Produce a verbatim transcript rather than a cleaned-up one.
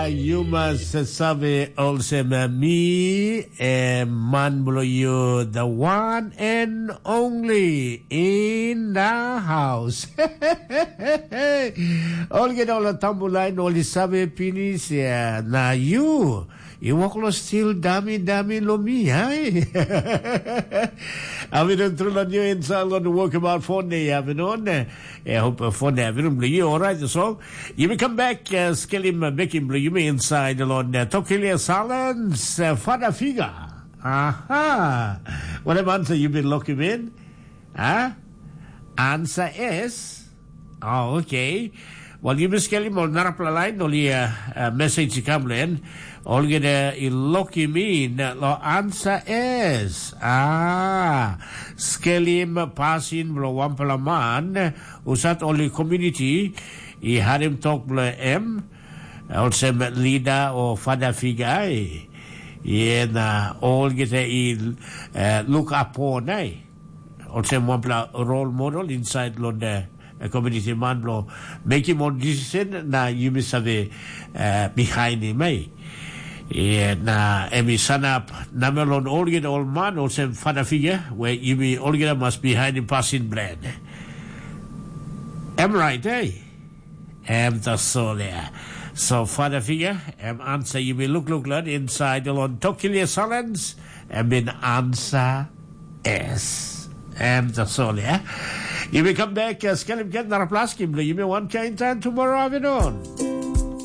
Yu mas save olsem, mi, eh, man bilong yu, the one and only in the house. Olgeta ol tambu lain ol i save pinis, eh, na yu, yu wok lo stil dami dami lo mi, hai? Avinon tru lo nyu insal lo woke about phone day, avinon. Eh, hope phone day, avinon, lo yu, alright, so. Yumi kam bek, uh, skelim, uh, bekim bilong yumi inside along, uh, Tokilia Silence, uh, Father Figure. Aha. What have answer you been looking in? Huh? Answer is, oh, okay. Well, yumi skelim ol narapela lain, ol ia, uh, message i kam len. Olgeta i lokim in lo answer is. Ah, skelim pasin bilong wanpela man, usat ol i community, i harim tok bilong em, olsem leader o father figure, ai. Ia na olgeta i, eh, look up on, ai. Olsem wanpela role model inside long the, eh, community man bilong mekim ol decision na yumi save, eh, behind him, ai. Ia na em i sanap namel long olgeta ol man olsem father figure, where yumi olgeta mas behind him pasin bilong en. Em right, eh? Em tasol ya. So father figure, em answer yumi lukluk long inside long Tokilia Silence, em bin answer es. Em tasol ya. Yumi come back, uh, skelim get naraplaskim, yumi one kind time tomorrow afternoon.